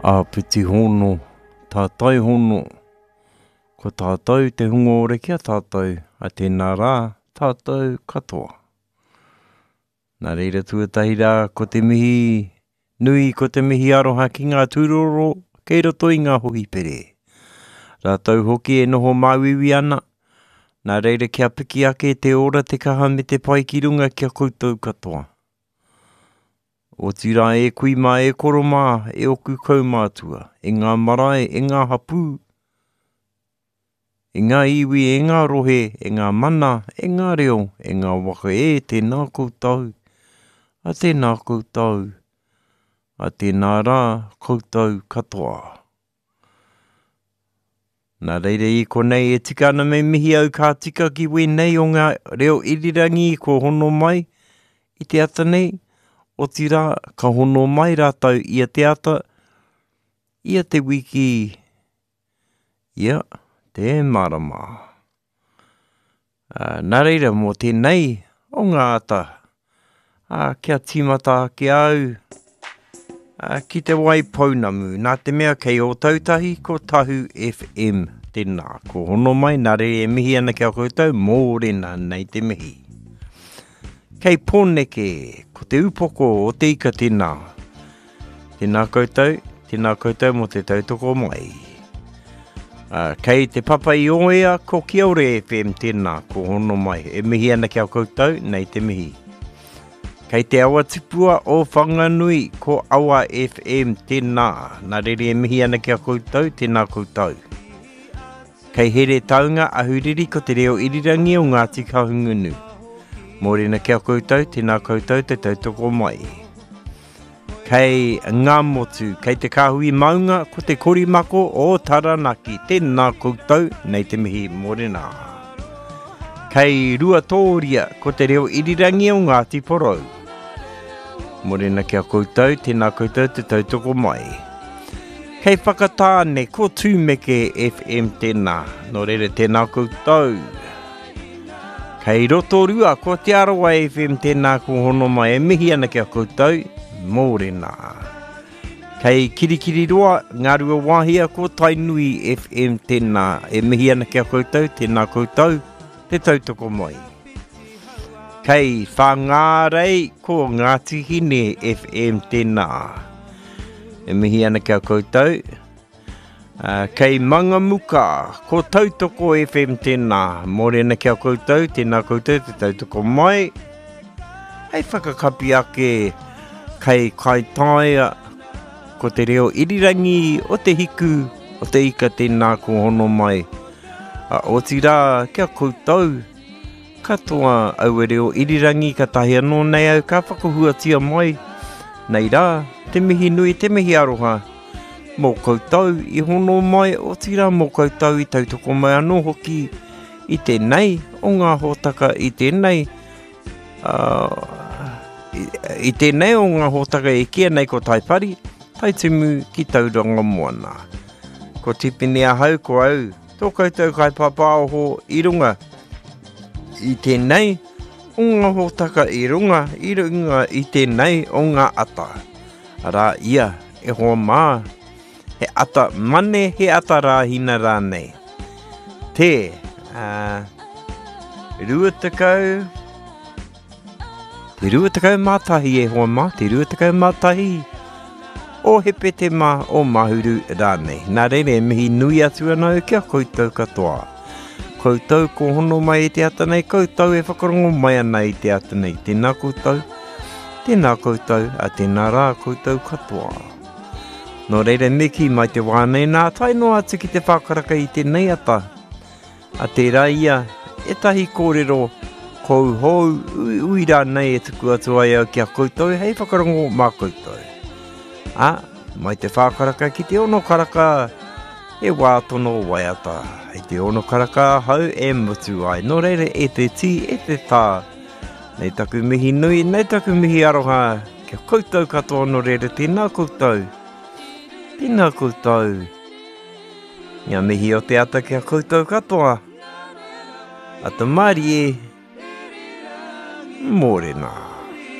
Āpiti hono, tātai hono, ko tātou te hunga ora ki a tātou, a tēnā rā, tātou katoa. Nā reira tuatahi rā, ko te mihi nui, ko te mihi aroha ki ngā tūroro kei roto i ngā hohipere. Rātou hoki e noho māuiui ana, nā reira kia piki ake te ora, te kaha me te pai ki runga ki a koutou katoa. Otirā e kui mā, e koro mā, e oku kaumātua, e ngā marae, e ngā hapū, e ngā iwi, e ngā rohe, e ngā mana, e ngā reo, e ngā waka e, tēnā koutou, a tēnā koutou, a tēnā rā koutou katoa. Nā reira i konei e tika ana me mihi au ka tika ki wēnei o ngā reo irirangi kua hono mai i te ata nei, otirā ka hono mai rātou ia te ata, ia te wiki, ia te marama. Ā, nā reira mō tēnei o ngā ata, ā, kia tīmata ake au ā, ki te wai pounamu, nā te mea kei Ōtautahi ko Tahu FM tēnā. Ko hono mai, nā reira e mihi ana ki a koutou, mōrena nei te mihi. Kei Pōneke, ko te upoko o te ika tēnā. Tēnā koutou, tēnā koutou mō te tautoko mai. Uh, kei te papa i oea, ko Kiore FM tēnā, ko hono mai. E mihi ana ki a koutou, nei te mihi. Kei te awa tipua o Whanganui, ko Awa FM tēnā. Nā rere e mihi ana ki a koutou, tēnā koutou. Kei Heretaunga, Ahuriri, ko te reo irirangi o Ngāti Kahungunu. Mōrena ki a koutou, tēnā koutou te tautoko mai. Kei Ngāmotu, kei te kāhui maunga, ko te korimako o Taranaki. Tēnā koutou, nei te mihi mōrena. Kei Ruatōria, ko te reo irirangi o Ngāti Porou. Mōrena ki a koutou, tēnā koutou te tautoko mai. Kei Whakatāne, ko Tūmeke FM tēnā. Nō reira, tēnā koutou. Kei Rotorua, ko Te Arawa FM tēnā ko hono mai e mihi ana ki a koutou, mōrena. Kei Kirikiriroa, Ngāruawāhia, ko Tainui FM tēnā e mihi ana ki a koutou, tēnā koutou, te tautoko mai. Kei Whāngārei, ko Ngāti Hine FM tēnā. E mihi ana ki a koutou, Kei Mangamuka, ko Tautoko FM tēnā. Mōrena ki a koutou, tēnā koutou te tautoko mai. Hei whakakapi ake kei Kaitaia, ko te reo irirangi o te hiku, o te ika tēnā ko hono mai. Otirā, kia koutou katoa aua reo irirangi katahi anō nei au ka whakahuatia mai. Nei rā, te mihi nui, te mihi aroha. Mō koutou i hono mai, otirā mō koutou i tautoko mai anō hoki i tēnei o ngā hōtaka i tēnei, uh, i, i tēnei o ngā hōtaka e kīia nei ko Taipari, Taitimu ki Tauranga Moana. Ko Tipene ahau, ko au, tō koutou kaipāpāoho i runga i tēnei o ngā hōtaka i runga, i runga i tēnei o ngā ata. Arā ia, e hoa mā, he ata mane, he ata rāhina rānei. Te, uh, 20, te 21 e hoa mā, te 21 o Hepetema o Mahuru rānei. Nā reira e mihi nui atu ana au ki a koutou katoa. Koutou ko hono mai i te ata nei, koutou e whakarongo mai ana i te ata nei. Tēnā koutou. Tēnā koutou, a tēnā rā koutou katoa. Nō reira me kī mai te wā nei nā tae noa atu ki te whākaraka i tēnei ata. A tērā ia, ētahi kōrero kouhou uiui rānei e tuku atu ai au ki a koutou hei whakarongo mā koutou. A, mai te whākaraka ki te ono karaka, he wā tono waiata. Hei te ono karaka ahau e mutu ai. Nō reira e te tī, e te tā, Nei taku mihi nui, nei taku mihi aroha kia koutou katoa nō reira tēnā koutou, tēnā koutou. Ngā mihi o te ata kia koutou katoa. Ata mārie, mōrena.